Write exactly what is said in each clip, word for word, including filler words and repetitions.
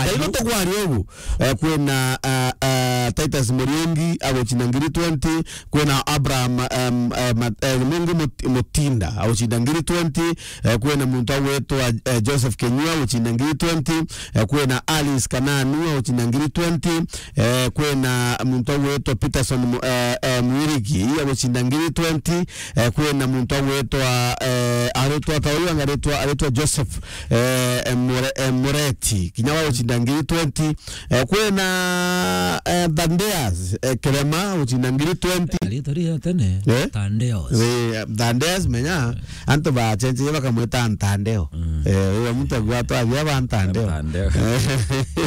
Kairo tugwari ugu. Eh, kwina, eh, eh, Titus Muriungi agucinda ngiri twenty, kwina Abraham, em, eh, Mat-, eh, Mungu Mut-, Mutinda agucinda ngiri twenty, eh, kwina muntu agwitwa, eh, Joseph Kenyua agucinda ngiri twenty, eh, kwina Alice Kananu agucinda ngiri twenty, eh, kwina muntu agwitwa Peterson Mu-, eh, eh, Mwirigi agucinda ngiri twenty, eh, kwina muntu agwitwa, eh, aritwa ta uyu angaritwa, aritwa Joseph, eh, eh, Mure-, eh, Mureti, kinya wa gucinda ngiri twenty, eh, kwina, eh, Thandeas, eh, Kirema gucinda ngiri twenty. Riitwa ria tene, eh? Thandeas. Eh, Thandeas, menya, antu bacenjerie bakamwita Ntandeo. Mm. Eh, uyo muntu agwatwa abia ba Ntandeo. Ntandeo.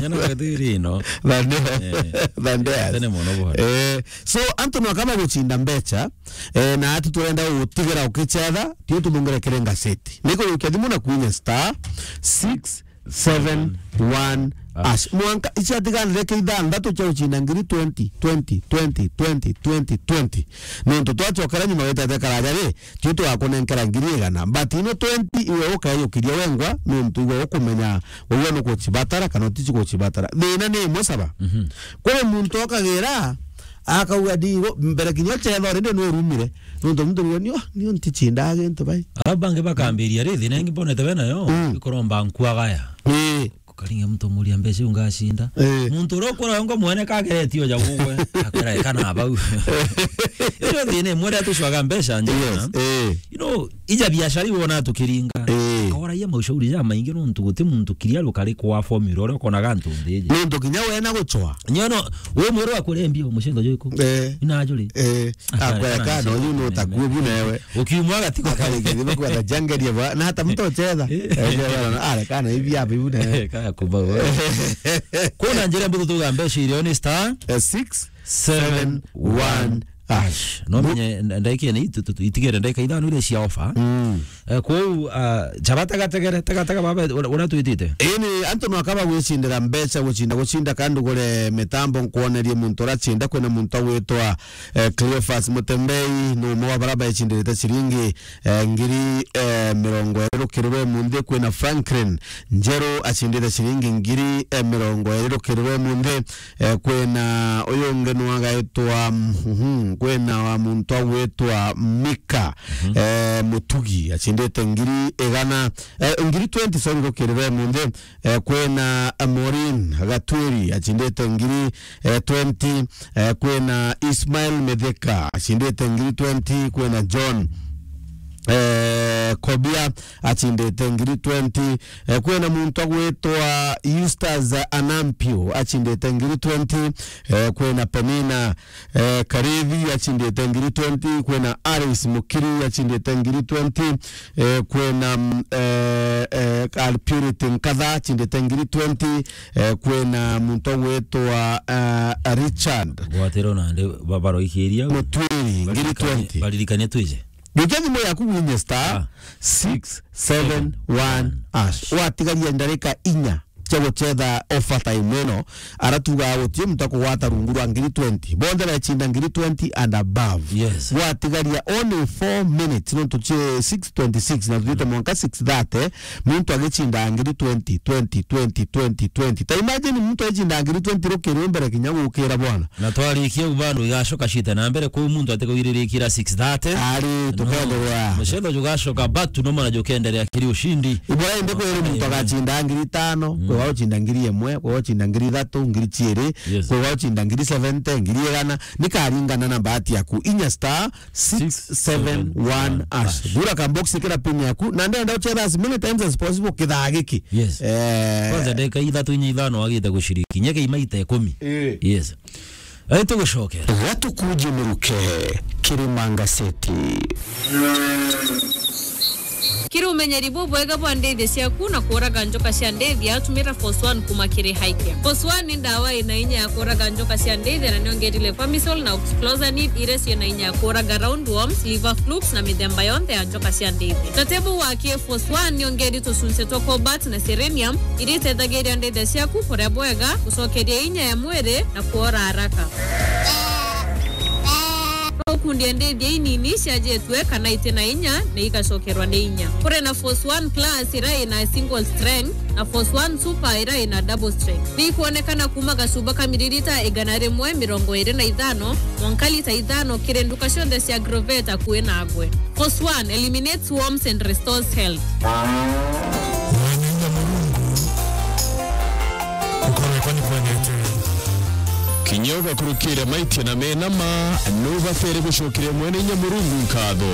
Nyana kathiri ino. Thandeas. Eh. Thandeas. Tene mono bono. Eh, so, antu no kama gucinda mbecha, eh, na ati turenda gutigira ukichetha, tio tubungire kiri ngaseti. Niko gukia thimu na kwinya star six seven one hash. Mwanka, ici atiganire ke ithanthatu cia gucinda ngiri twenty, twenty, twenty, twenty, twenty, twenty. Nontu twacokera nyuma witete karaja ri, tio tugakunenkera ngiri igana. But ino twenty iwe ukeyukiria wengwa, nontu iwe ukumenya, uwe nukucibatara kana uticibatara. Thina ni imwe saba. Mhm. Kuri muntu okagira, akauga, "Ndi, mbere kinya uchetha already nurumire." Nontu muntu auga, "Nio, nio nticindaga gintu bai." Alafu bangi bakambiria, "Ri, thina ingi mbonete we nayo, mm, ikuromba nkuagaya." Ii. Ukaringa muntu umuria mbeca iu ngacinda. Ii. Muntu uria ukuraga ngo mwene kageretie oja gugwe, akwira, "Eka na bau." Iyo thina imwe iria tucwaga mbeca njega. Yes, ii. You know, ija biashara iu wona tukiringa. Ii. Kaoragia maushauri ja maingi nontu guti muntu kiria rukari kwa formula uria ukonaga antu nthi iji. Nontu kinya wena gucwa. Nyono, we mweru akurembia mucendo jwiku. Ii. Ina ajuri. Ii. Akara, akwira kana kana uyu no takue bu newe. Ukiumwa gati kwa kare githe kwa jangeria ba. Na hata mtu ucheza. Ii. Ii, bwana, ara kana hivi hapa hivi newe. Ii, kana kuba we. Kuna njira mbutu tuga mbeca irio ni star, eh, six seven one hash. No menye ndaikia ni itu-, tu-, itigere ndaika ithano iria cia offer. Mm. Eh, kwou, ah, chaba tega tegere, tega tega baba, ura, ura twitite. Ini antu no akaba gwicindira mbeca, gucinda, gucinda, kandi ugure mitambo nkwonerie muntu ura cinda, kwina muntu agwitwa, eh, Cleophas Mutembei, ni umwe wa bara baicindiriite ciringi, eh, ngiri, eh, mirongo iri rukiri rwa umunthi, kwina Franklin Njeru acindite ciringi ngiri, eh, mirongo iri rukiri rwa umunthi, eh, kwina uyu ungi nu agaitwa, mhm, kwina wa muntu agwitwa Mika, mhm, eh, Mutugi, acindite ngiri igana, eh, ngiri twenty, sorry, rukiri rwa umunthi, eh, kwina, eh, Maureen Gatwiri, acindite ngiri, eh, twenty, eh, kwina Ismail Mithika, acindite ngiri twenty, kwina John, eh, Kobia, acindite ngiri twenty, eh, kwina muntu agwitwa Eustace Anampio, acindite ngiri twenty, eh, kwina Penina, eh, Karithi, acindite ngiri twenty, kwina Alice Mukiri, acindite ngiri twenty, eh, kwina, mm, eh, eh, Purity Nkatha, acindite ngiri twenty, eh, kwina muntu agwitwa, eh, Richard. Gwatiro nandi babaro ikiria. Mutwiri, ngiri twenty. Baririkanie twije. Njukia thimu yaku winye star, ah, six seven one hash. Watigaria ndarika inya cia gucetha offer time ino, ara tugaga guti muntu akugwata rungu rwa ngiri twenty. Bonthe bechinda ngiri twenty and above. Yes. Gwatigaria only four minutes, nontu ci six twenty-six na tuthiite mwanka six thirty, muntu agichinda ngiri twenty, twenty, twenty, twenty, twenty. Ta imagine muntu agichinda ngiri twenty rukiri mbere kinya gukira bwana. Na twarikia u bado igacoka cite na mbere, kuu muntu atikuiririkira six thirty. Ari, no, tukenderea. Mucetho jugacoka back to normal na jukenderea kiri ushindi. Ibura indi kwiri muntu agacinda ngiri itano, mm, kwi wa ucinda ngiri imwe, kwi wa ucinda ngiri ithatu, ngiri ciiri, yes, kwi wa ucinda ngiri seventy, ngiri igana, nikaringana na bahati yaku. Inya star six seven one hash. Gura ka box kira pin yaku, na ndenda uchetha as many times as possible kithaa giki. Yes. Eh. Kwanza ndagika ithatu inya ithano wagite guciriki. Nyeke imaita ikumi. Eh. Yes. Ai, tugucokera. Gatukuje muruke, Kirima Ngaseti. Kiri umenyeri bubwega bwa ndithi ciaku na kuraga njoka cia ndithi, tumira Force One kuma kiri Highcare. Force One ni ndawa ina inya ya kuraga njoka cia ndithi, na niongerire Pamisol na Oxyclosanid, iria ciina inya ya kuraga roundworms, liver flukes, na mithemba yonthe ya njoka cia ndithi. Na tebu wa K Force One niongeri tucunci twa cobalt na selenium, iria itethagiria ndithi ciaku kuria bwega, gucokeria inya ya mwiri, na kuora haraka. Ikundi ya ndithia inini ciajitwe kana iti na inya na igacokerwa ni inya. Kuri na Force One Plus ira ina single strength na Force One Super ira ina double strength. Ni ikwonekana kuma gacuba ka miririta igana rimwe mirongo iri na ithano mwanka lita ithano kiri nduka cionthe cia Agrovet akui nagwe. Force One eliminates worms and restores health. Mwana inya Murungu, ukorekwa ni kwenete. Kinya ugakurukira maitia na menama, nubatere gucokeria Mwene Inya Murungu nkatho,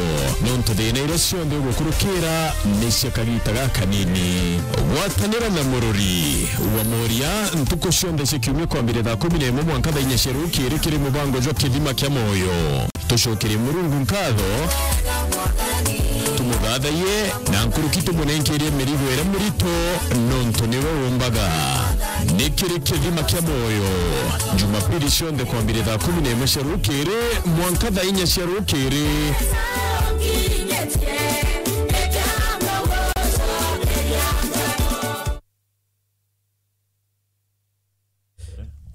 nontu thina iria cionthe ugukurukira ni cia kagita gakanini. Gwatanira na Murori wa Moria ntuku cionthe cia kiumia kwambire thaa kumi na imwe mwanka thaa inya cia rukiri kiri mubango jwa Kithima kia Moyo. Tucokerie Murungu nkatho, tumuthathaiye, na nkuruki tumunenkerie mirigo iria mirito, nontu niwe umbaga. Ni kiri Kithima kia Moyo, Jumapili cionthe kwambire thaa kumi na imwe cia rukiri mwanka thaa inya cia rukiri.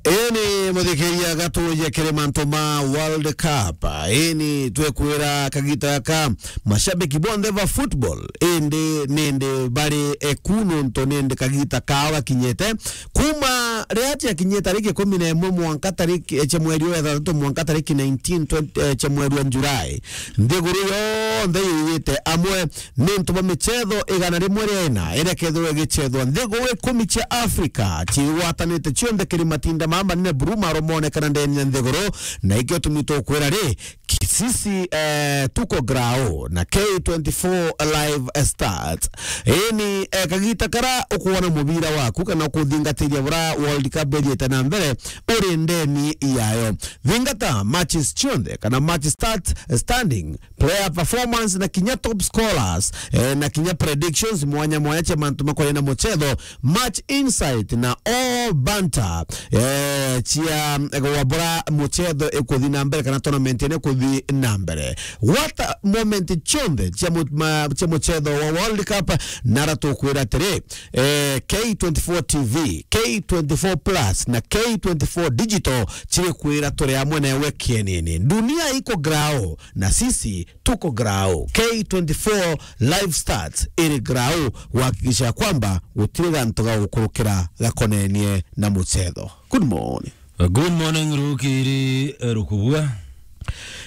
Ini muthikiria, gatuje kiri mantu ma World Cup. Ini twekwira kagita gaka mashabiki bonthe ba football, indi nindi bari eku nontu nindi kagita kao gakinyite. Kuma riria ciakinyie tariki ikumi na imwe mwanka tariki, eh, cia mweri wa ithathatu mwanka tariki nineteen, twenty, eh, cia mweri wa July, nthiguru yonthe yiyite amwe. Ni untu bwa michetho igana rimwe ria ina iria kethirwa igicethwa nthiguru ikumi cia Africa, ciigwatanite cionthe kiri matinda mama manene buru maromonekana ndeni ya nthiguru, na ikio tumi tukwira ri, ki-, sisi, eh, tuko grao na K twenty-four Live Start. Ini, eh, kagita kara ukwona mubira waku kana ukuthingatiria bura World Cup ithiite na mbere uri ndeni yayo. Thingata matches cionthe kana match start, standing, player performance na kinya top scorers, eh, na kinya predictions mwanya mwanya cia mantu makonie na muchetho, match insight na all banter, eh, cia gwabura muchetho ikuthi na mbere kana tournament ino ikuthi na mbere. Gwata moment cionthe cia mu-, ma-, cia muchetho wa World Cup, nara tukwira atiri, eh, K twenty-four T V, K twenty-four Plus na K twenty-four Digital ciri kwira turi amwe nawe kienini. Dunia iko grao na sisi tuko grao. K twenty-four Live Stats iri grao kuhakikisha kwamba gutiri gantu ga gukurukira gakonenie na muchetho. Good morning. Good morning, Rukiri, eh, Rukubua.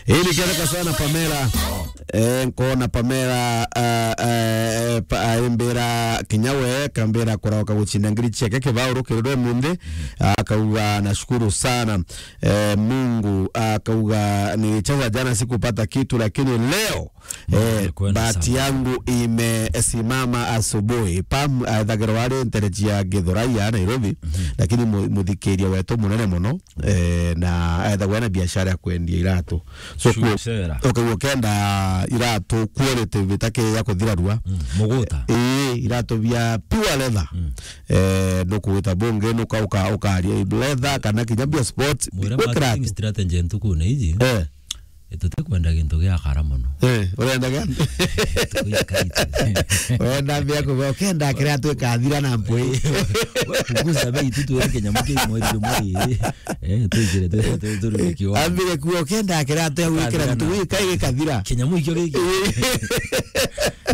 Ili kereka sana Pamela. Eh, nkona Pamela, ah, eh, pa-, aimbira kinya we, kambira kurauka guchinda ngiri ciake kibao rukiri rwa munthi. Akauga, "Nashukuru sana." Eh, Mungu akauga, "Nilicheza jana sikupata kitu, lakini leo, eh, bahati yangu imesimama asubuhi." Pam, ethagirwa ari ntereji ya Githurai ya Nairobi, lakini mu-, muthikiria wetu munene muno, eh, na ethagwa na biashara ya kwendia iratu. So, ku-, ukaigua ukenda iratu quality bitaki ya kuthirarua. Mm, muguta. Ii, iratu bia pure leather. Mm. Eh, nukugwita bungi, nuka uka-, ukaria leather kana kinya bia sport. Mwire marketing strategy ntuku na iji. Eh. Tutikwenda gintu gia kara muno. Eh, urenda gia? Tukuikaite. Urenda mbia kuga, ukenda kiratu ikathira na mpwi. We punguza bei tu, tuweke kinyamu kiu mweri jumwe riri. Eh, tuigire tu, tu, tu, tu, kiwa. Ambire kuga, ukenda kiratu ya gwikira ikathira na mpwi. Gintu gika gikathira. Kinyamu ikio giki.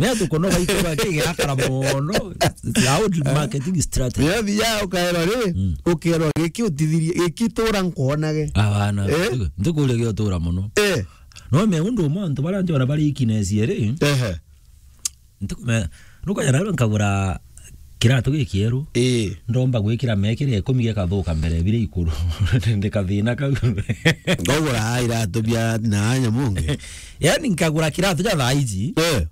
Ni atu kono gaikura kigirakara mono. Loud marketing strategy. Ni athi ya ukaerwa ri, mm, ukerwa giki utithirie, giki tura nkwonage. Abana. Eh? Ntukuria giotura muno. Eh. No me undu umwe antu baria njona bari ikinesie ri. Ehe. Ntukume, nukwenda rero nkagura kiratu gikieru. Ii. Ndomba gwikira mekire ikumi gikathuka mbere bire ikuru. Ndi kathina kau. Ngagura iratu bia na anya mungi. Yani nkagura kiratu ja thaa iji. Eh.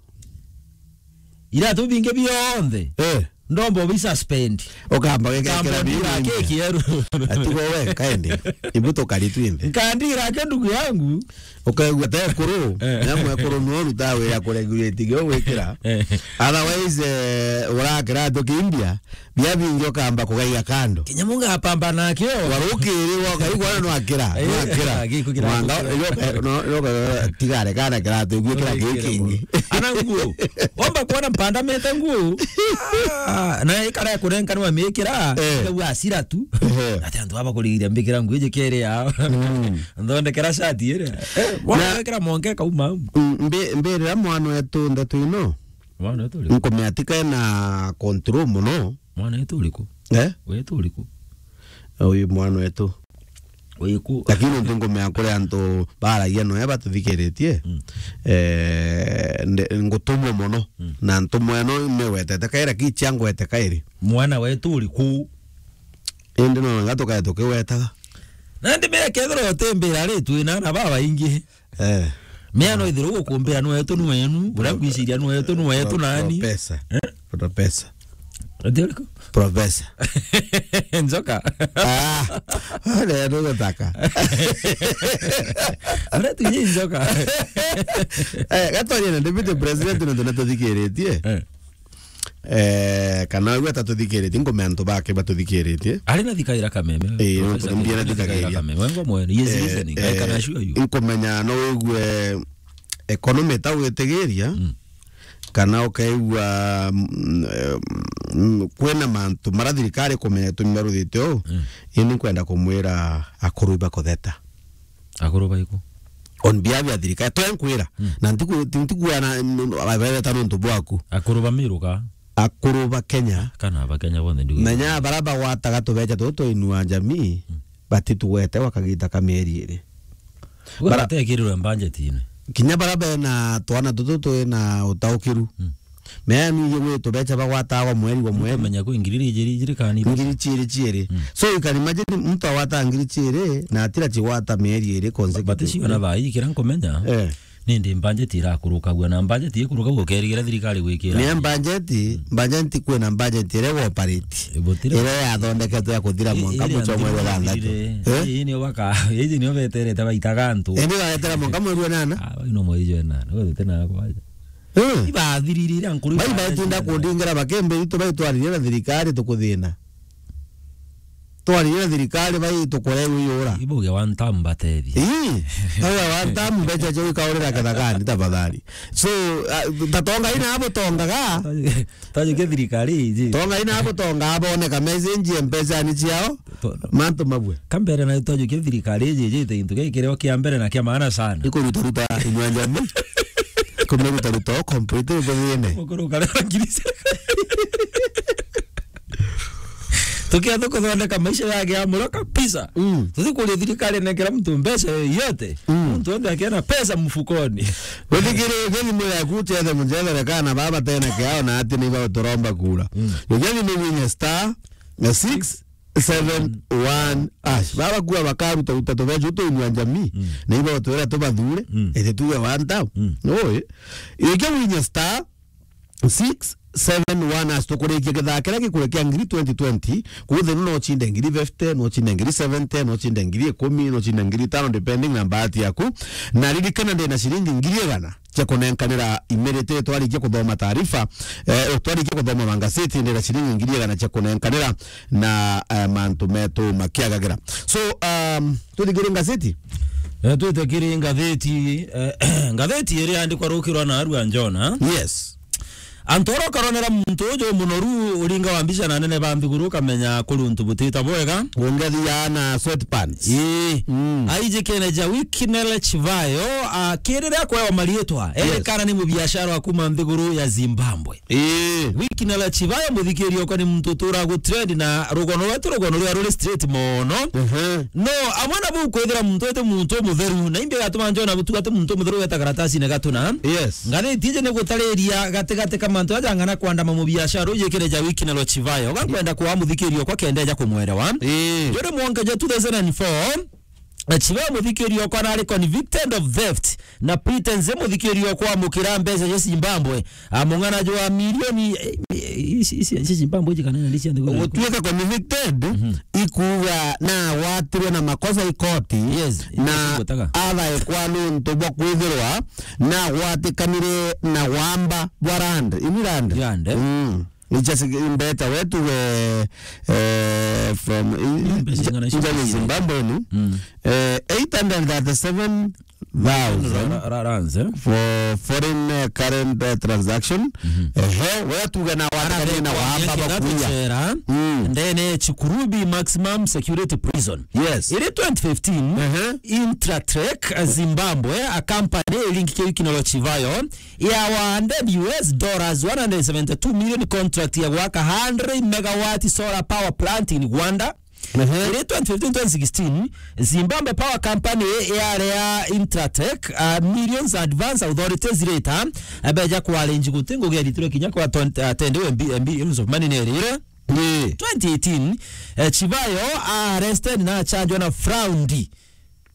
Iratu bingi bionthe. Eh. Ndomba ubi suspend. Ukamba wikira kira biu keki yeru. Atugo we, kaende. Ibu tukari twinthe. Nkandira ke ndugu yangu. Ukaigua te kuru. Eh. Na mwe kuru no ruta wira kuregulate gyo gwikira. Eh. Otherwise, eh, urakira tu ki India, bia bingi ukamba kugaiga kando. Kinya munga apamba nakio. Warukiri wakaigua no akira, no akira. Mwanga, no, no, tigare kana kiratu, igwikira kiki ingi. Na nguo. Wamba kuona mpanda mete nguo. Ah, na ikara ya kurenka ni wamikira, Eh. ikagua asira tu. Eh. Ati antu aba kurigiria mbikira nguo iji kere ya. Mm. Nthondekera shati ire. Eh, Na wekira monke kauma. Mm, mbi-, mbirira mwana wetu ndeto ino. Mwana wetu uriku? Nkumea tika ena control muno. Mwana wetu uriku? Eh? Wetu uriku? Uyu mwana wetu. Uyu ku- Lakini nti ngumea kuri antu baragia noe batuthikiritie. Mm. Eh, nde-, ngutumwa muno. Mm. Na ntumwa ino imewetete kairi, kichia ngwete kairi. Mwana wetu uriku? Indi no nga tukae tukiwetaga. Na ndi mea kethira utimbira ri, twina na baba ingi. Eh. Mea no ithirwo gukumbira ni wetu ni wenu, uria ngwiciria ni wetu ni wetu Pro-, nani? Professor. Eh? Professor. Ati uriku? Professor. Njoka. Ah, ale ndio gutaka. Uria tuinyi njoka. Eh, gatwarie na deputy president na tuna tuthikiritie. Eh. Eh, kana we atatuthikiritie, ngome antu bake batuthikiritie. Ari na thikaira kameme. Eh, Professor, mbia na ari na thikaira thikagiria. Kameme. Wengo mwene. He is Eh, listening. I can eh, assure you. Nkumenya no wigue economy ta gwitigiria, Mm. kana ukaigua, mm, eh, mm, kwina mantu mara thirikari kumenya tumia ruthite uu, Mm. ini nkwenda kumwira akuru ibakutheta. Akuru baiku? On behalf ya thirikari, twenkwira. Mm. Na ntiku-, nti-, ntikuwa na, mm, abaireta nontu bwaku. Akuru ba Miru ka? Akuru ba Kenya. Kana ba Kenya bonthe ndigu. Menya bara bagwataga tubecha tutu twa Inua Jamii, Mm. batitugwete gwa kagita ka mieri iri. Bara- Bara batekirirwe mbanjetine. Kinya bara bena twana tutu twina utaukiru. Mm. Mea ni iye gwitu becha bagwataga gwa mweri gwa mweri. Menya kwi ngiri ijiri ijiri kani. Ngiri chiiri chiiri. Mm. So you can imagine mtu agwata ngiri chiiri na atira chigwata mieri iri consecutive. But sio na thaa ii kira nkumenya. Eh. Nindi budget irakurukagua na budget ikurukagua ukerigira thirikari gwikira. Ni budget, budget kwina budget ire operate. Ibutire. Ire yathondeketwe ya kuthira mwanka mucho mweri wa thanthatu. Eh? Ii ni baka, ii ni beterete baitaga antu. Indi baetera mwanka mweri wa nana. Ah, ino mweri wa nana. Wewe tena kwa. Eh. Ibathirire ira nkuru. Bai batinda kundingira bakembe itu baitwaririe na thirikari tukuthina. Twaririe na thirikari bai tukore wiyura. Ibuge one time batethia. Ii. Tauga one time mbecha cio ikaurira kethagani tafadhali. So, ah, tatonga ina abo tongaga. Tajukia thirikari iji. Tonga ina abo tonga aboneka message mpesa ni ciao. To- Mantu mabwe. Kambere na twajukia thirikari iji iji te into kia kirio kia mbere na kia maana sana. Ikuruta ruta Inua Jamii. Kumeruta ruta o complete uko thine. Mukuru kare ngiri. Tukiatha kuthondeka maisha yake ya muro kabisa. Mm. Tutikuria thirikari nengera mtu mbeca yoyote. Mm. Mtu onde akiona pesa mfukoni. Guthikiri thimu yaku uchethe muchethere kana baba tena kiao na ati ni baba turomba kura. Mm. Ukiathi ni winye star na six seven one hash. Baba kuwa bakaruta ruta tubeca tu Inua Jamii. Mm. Na ibo twera tubathure. Mm. Ete tuwe one time. Mm. Oi. Ukiathi winye star six seven one hash tukurikia kithaa kiria gikurekia ngiri twenty twenty, kuthenu no uchinde ngiri fifty, no uchinde ngiri seventy, no uchinde ngiri ikumi, no uchinde ngiri itano, depending na bahati yaku. Na ririkana ndina ciringi ngiri igana cia kunenkanira imirite twarikia kuthoma taarifa, eh, twarikia kuthoma magazeti, ndina ciringi ngiri igana cia kunenkanira na, eh, mantu metu makiagagira. So, um, tuthikire ngazeti? Eh, twite kiri ngatheti, eh, ngatheti iria yandikwa rukirwa na Arua Njona. Yes. Antu oro karonera muntu uju munoru uringa wa mbica na anene ba nthiguru kamenya kuri untu butita bwega. Ungethi ya na sweatpants. Ii. Mm. Aijikene ja Wikinele Chivayo, akirire akwewa marietwa. Yes. Erekana ni mubiashara wa kuma nthiguru ya Zimbabwe. Ii. Wikinele Chivayo, muthikiri okwa ni muntu utura gu trend na rugono rwetu, rugono rwa ruri straight mono. Mhm. No, amwe na bau kwithira muntu ete muntu umutheru, na imbi gatuma njona butu gati muntu umutheru weta karatasi ne gatuna. Yes. Ngathiti ije ni gutariria gatigati ka mantu aja ng'ana kwandama mubiashara ujikire ja Wikinele Chivayo. Gankwenda kwa muthikiri okwa kende ja kumwerewa. Ii. Juri mwonke ja two thousand and four, Chivayo muthikiri okwa nari convicted of theft na pretense muthikiri okwa amukira mbeca cia Zimbabwe. Ah, mung'ana jwa milioni, eh, eh, ici, ici, ici Zimbabwe iji kana ni cia nthiguru iriku? Gutuika convicted, mhm, ikuuga na agwatirwe na makosa ikoti, yes, na igwetaga, athaikwa nuntu bwa kwithirwa na agwatikanire na wamba bwa land, ini land. Land, eh? Mm. Icha si-, mbeta wetu, eh, eh, from, i-, mbeca ing'ana cia inja ni Zimbabwe ni. Mm. Eh, eight hundred thirty-seven thousand Ra-, ra-, ra-, rands, eh? For foreign, eh, current, eh, transaction. Mhm. Ehe, we tuge na watakania na wamba bakuya. Mm. Ndene Chikurubi Maximum Security Prison. Yes. Iri twenty fifteen, ehe, Intratrek, eh, Zimbabwe, a company link kiri kino Chivayo, ya one hundred U S dollars, one hundred seventy-two million contract ya gwaka hundred megawatt solar power plant in Rwanda. Ehe. Iri twenty fifteen, twenty sixteen, Zimbabwe Power Company yarea Intratrek, uh, millions advance authorities later, abeja kwa arrange guti ngugi ya litiro kinya kwa ton-, uh, tende we mbi-, mbi-, millions of money nerire. Ni. Twenty eighteen, eh, Chivayo arrested na charged na fraud.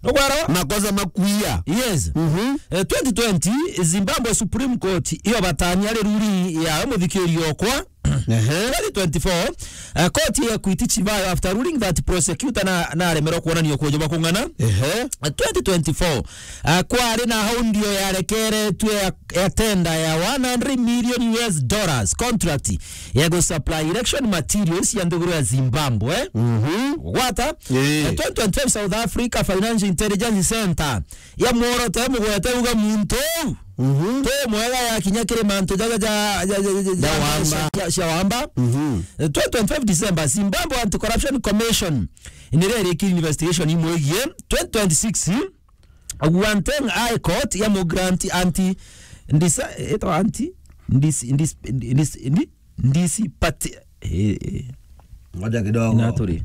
Nugwarawa? Makosa makuia. Yes. Mhm. Eh, twenty twenty, Zimbabwe Supreme Court iyo batania ri ruling ya muthikiri okwa. Ehe. Twenty twenty-four, eh, court ya Equity Chivayo after ruling that prosecutor na, na aremerwa kuonania kujo bakung'ana. Ehe. Eh, twenty twenty-four, eh, kwari na hau ndio yarekeretwe ya, ya tender ya one hundred million U S dollars contract ya gu supply election materials ya nthiguru ya Zimbabwe. Mhm. Gwata? Eh. Eh, twenty twenty-five South Africa Financial Intelligence Center ya mworoto ya mugwete uga muntu uu. Mhm. Tu mwega ya kinya kiri mantu jaja ja, ja, ja, ja, ja, ja wamba. Cia, cia wamba. Mhm. Eh, twenty twenty-five December, Zimbabwe Anti-Corruption Commission nire irikiri investigation imwigie. Twenty twenty-six, Guanteng High Court ya mu grant anti, ndisa, eto anti, ndisi, ndis-, ndis-, ndi-, ndisi pati, eh, eh. Ngoja kidogo. Ina turi.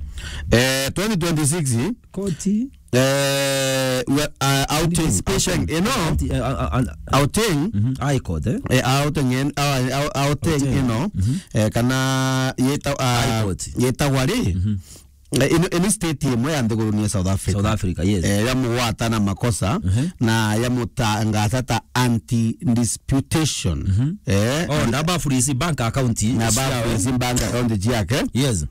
Eh, twenty twenty-six, koti. Eh, we, uh, outing, anticipation. Outing, you know? Anti-, uh, uh, uh, outing. Mhm, High Court, eh? Eh, outing, in, uh, ou-, outing, outing, you know? Mhm. Eh, kana yeta-, uh, High Court. Yetagwa ri? Mhm. Eh, ino, ino state imwe ya nthiguru ni ya South Africa. South Africa, yes. Eh, ya mugwata na makosa, mhm, na ya mutangata ta anti-disputation. Mhm. Eh, oh, na ba freeze bank account na ba ciao, eh? Freeze bank account ciake. Yes.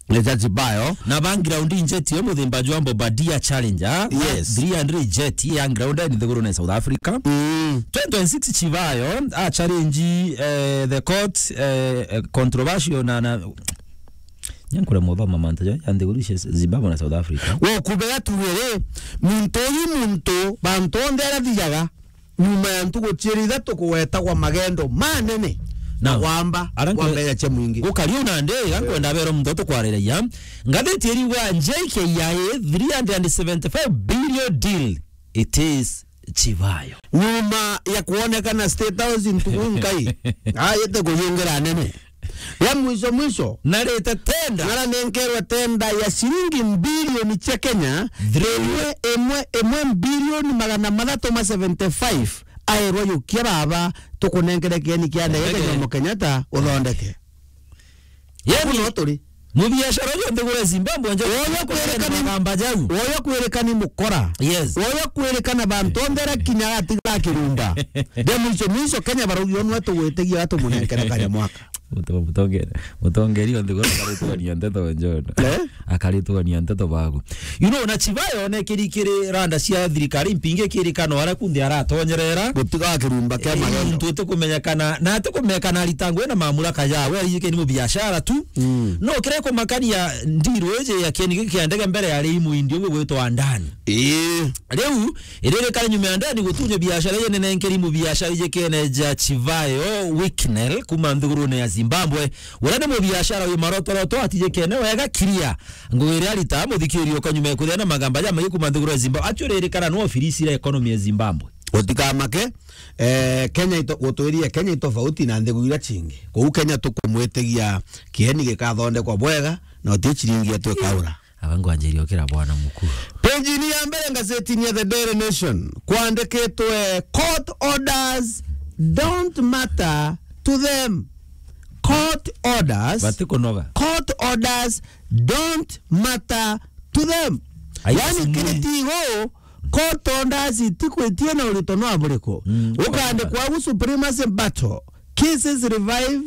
Ni ja Chivayo. Na ba ground jet yo muthemba jwa Bombardier Challenger. Yes. Three hundred jet ya ground ni nthiguru ni South Africa. Mm. Twenty twenty-six Chivayo a challenge, eh, the court, eh, eh, controversial na, na Nyankure muthoma mantu ja, ya nthiguru cia Zimbabwe na South Africa. Wo kubega tugere, muntu uyu muntu, bantu onthe aria thijaga, nyuma ya ntuku ciiri ithatu kugwetagwa magendo manene na wamba, ara nkwe-, wamba ya cia mwingi. Gukari una ndi, iga nkwenda bero muntu tukwariragia. Ngathiti iriuga J K I A three hundred and seventy-five billion deal, it is Chivayo. Nyuma ya kuonekana State House ntuku nkai, ayete kuyungira anene. Ya mwisho mwisho. Narite tenda. Naranenkerwe tenda ya ciringi mbilioni cia Kenya, imwe, imwe, imwe mbilioni magana mathatu ma seventy-five, aerwa yukia baba, tukunenkere kieni kia ndege kia Jomo Kenyatta, uthondeke. Yani, kuno turi. Mubiashara uyu nthiguru ya Zimbabwe nje. Woyo kwirikani magamba jau. Woyo kwirikani mukora. Yes. Woyo kwirikana bantu onthe aria kinya atiga kirumba. Nde mwisho mwisho Kenya baraugi onwe tugwitigia tumunenkere kanya mwaka. Muto-, mutongere, mutongeri o nthiguru akaritugania nteto njono. Eh? Akaritugania nteto bagu. You know, na Chivayo ne kiri kiri randa cia thirikari mpingi kiri kano ara kundi aratonyerera. Gutiga kirumba kia magendo. Muntu utikumenyekana, na atikumenyekana aritangwe na mamuraka jawe, ariyike ni mubiashara tu. Mm. No kire kumakania ndiru iji ya kieni giki kia ndege mbere yari imuindi ugwe gwitwa Andani. Ii. Riu, iririkana nyuma ya Andani gutunye biashara iji nene nkeri mubiashara iji kene ja Chivayo Wicknell kuma nthigurune ya Zimbabwe. Uria ni mubiashara wi marotoroto atijikene wega kiria. Ngugi iria arita muthikiri uka nyuma ya kuthia na magamba jamaingi kuma nthiguru ya Zimbabwe. Actually, iririkana no ofirisi iria economy ya Zimbabwe. Utikamake, eh, Kenya ito-, gutwiria Kenya itofauti na nthiguru iria cingi. Kuu Kenya tukumwitigia kieni gikathondekwa bwega, na uti ciringi yetu ikaura. Aba ngwanjiria ukira bwana mukuu. Page-ini ya mbere ngazetini ya The Daily Nation, kwandikitwe, "Court orders don't matter to them." Court orders, batikunoga. Court orders don't matter to them. Ai, yani, simuni. Kiri tigo, court orders itikwitie na urito no aburiku. Mm. Ukandikwa agu supremacy battle. Cases revive,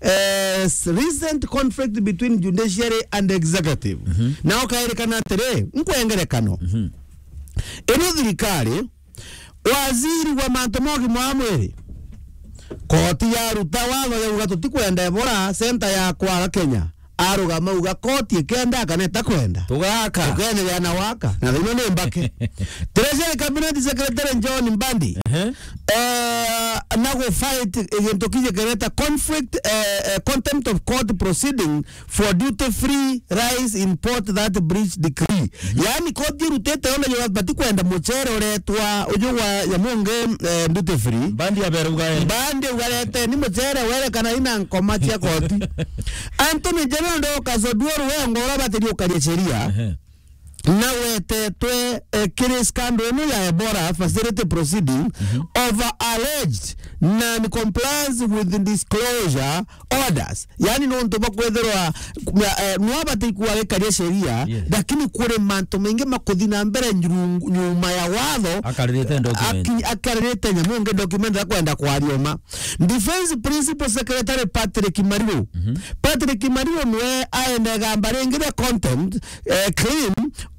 eh, s-, recent conflict between judiciary and executive. Mhm. Na ukairikana atiri, nkwengerekano. Mhm. Ino thirikari, waziri wa mantu ma ugima wa mwiri, koti yaruta watho yauga tutikwenda Ebola center ya kwara Kenya. arugama uga koti ikenda kana itakwenda. Tugaka. Tukenderea na waka. Na thina ni mbake. Treasury Cabinet Secretary John Mbadi. Ehe. Eh, na go fight gintu kiji kireta conflict, eh, eh, contempt of court proceeding for duty free rice import that breach decree. Mhm. Yaani koti irutite ona yo bati kwenda muchere uretwa uju wa Nyamungi, eh, duty free. Mbadi aberuga, eh. Mbadi ugarete ni muchere were kana ina nkoma cia koti. Anthony General Dorcas Oduor we ngo ura batiri ukaria sheria. Ehe. Na wetetwe, eh, kiri scandal ino ya Ebola facility proceeding, mhm, over alleged non-compliance with disclosure orders. Yaani nontu bwa kwithirwa, eh, no abati kuwa gikaria sheria, yes, lakini kuri mantu maingi makuthi na mbere nyuru-, nyuma ya watho. Akaririte document. Aki-, akaririte Nyamungi document akwenda kwarioma. Defense Principal Secretary Patrick Mariru. Mhm. Patrick Mariru nwe aenda gamba ringi ria contempt, eh, claim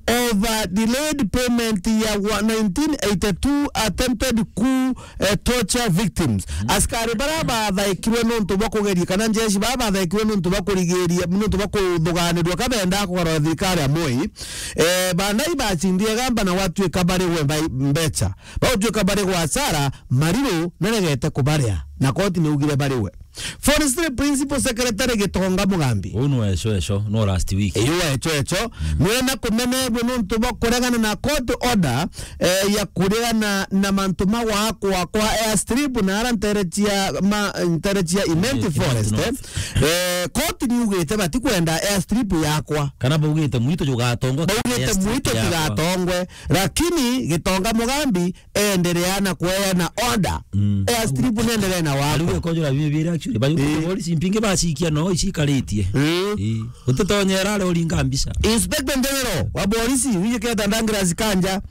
over delayed payment ya wa-, nineteen eighty-two attempted coup, eh, torture victims. Mhm. Askari bara bathaikirwe nontu bwa kugeria, kana njeshi bara bathaikirwe nontu bwa kurigiria, nontu bwa kuthuganirua ka bendaa kugarura thirikari ya Moi. Eh, bandai bacindie gamba na gwatuika bariwe mbai-, mbecha. Bautuika bari gwasara, Mariru naregete kubaria, na koti niugire bariwe. Forestry Principal Secretary Gitonga Mugambi. Uu nwe eco eco, no last week. Iyo eco eco, mm, nwena kumenegwe nontu bwa kuregana na court order, eh, ya kuregana na mantu ma gwakwa kwa airstrip na ara ntere cia ma-, ntere cia Imenti, eh, Imenti Forest, North, eh. Eh, court niugite batikwenda airstrip yakwa. Kana baugite mwitu jugatongwe, baugite airstrip mwitu yakwa. Tigatongwe, lakini Gitonga Mugambi endelea na kueana order. Mm. Airstrip nendelee na wako. Ariwe kojora bibi bira actually. Bayu, eh, polisi mpinge bacikia no icikaritie. Mm. Eh. Utitonyera ari uringa mbica. Inspector General wa polisi, wiji keta Douglas Kanja,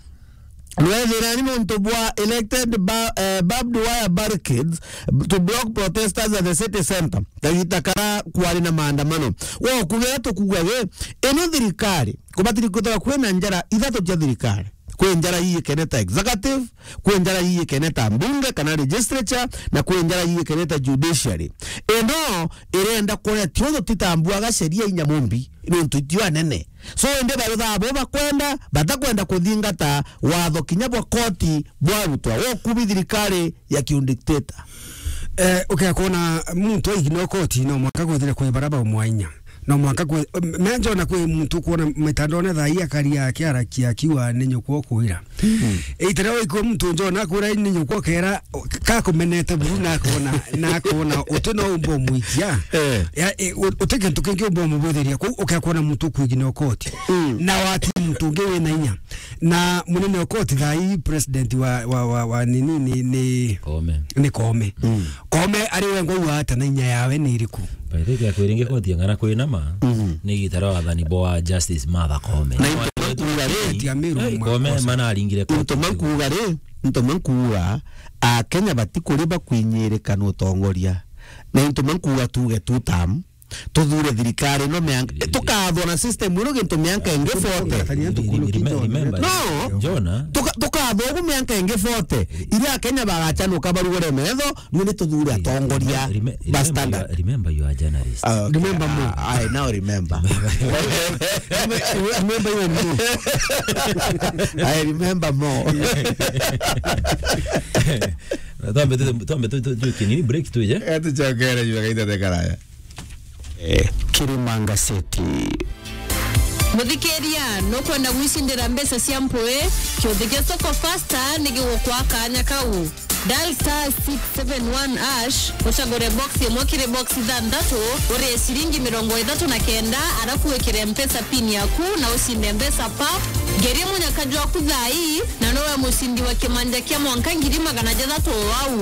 nwethira ni nontu bwa elected ba-, eh, barbed wire barricades to block protesters at the city center. Kagita kara kwari na maandamano. Wo kugira tukuga ge, ino thirikari, kubatiri kwithirwa kwina njara ithatu cia thirikari. Kwi njara ii ikene ta executive, kwi njara ii ikene ta mbunge kana legislature, na kwi njara ii ikene ta judiciary. Ino irenda kuria tio tutitambuaga sheria inya mumbi, nontu itio anene. So, indi baruthaa bo bakwenda, batakwenda kuthingata watho kinya bwa koti bwarutwa. Wo kubi thirikari ya kiundictator. Eh, ukea kwona muntu aigina koti, no mwanka kwithire kwi bara baumwa inya. No mwanka kwi, me njona kwi muntu kwona mitandone thaa ii akaria akiarakia akiuga ni nyukwa ukwira. Mm. Itire waikua muntu njona akwira ni nyukwa kera, kakumenete buru na akona, na akona uti no umba umwikia. Eh. Ya, e, u-, uti kintu kingi umba umubwithiria kuu, ukea kwona muntu kwigina koti. Mm. Na wati muntu ungi wina inya. Na munene wa koti thaa ii president wa, wa, wa, wa nini ni, ni Koome. Ni Koome. Mm. Koome ari we ngwauga ata na inya yawe ni iriku? By the way, kwiringi koti ya ng'ana kwinama, mhm, ni gitara wathani bwa Justice Martha Koome. Na into makuuga ri, ati Amiru Koome makosa. Mana aringire koti. Into makuuga ri, into makuuga, Akenya batikuriba kwinyirika na utongoria. Na into makuuga tuge two term, tuthure thirikari ino mianka, tukathwa na system ino gintu mianka ingi forty. Reme-, remember, no. Jona. Tuka-, tukathwa ugu mianka ingi forty. Iria Akenya bagachanuka barugure metho, nwe ni tuthure atongoria ba standard. Remember, remember you are a journalist. Ah, okay. Remember more. Ah, I now remember. Remember even more. I remember more. Twambe tu-, twambe tu-, tu-, tu-, kinini break tu, je? Eh, tuchokere juu ya kaita de karaya. Eh, Kirima Ngaseti. Muthikiria, nukwenda gwicindira mbeca cia mpui? Kiuthi kia Soko Fasta ni gigukwa kanya kau. Dial star six seven one hash, ucagure box imwe kiri box ithanthatu, urie ciringi mirongo ithatu na kenda, arafu wikire Mpesa pin yaku na ucinde mbeca pap. Ngeria munyaka jwaku thaa ii, na nowe mucindi wa kimanja kia mwanka ngiri magana jathatu o au.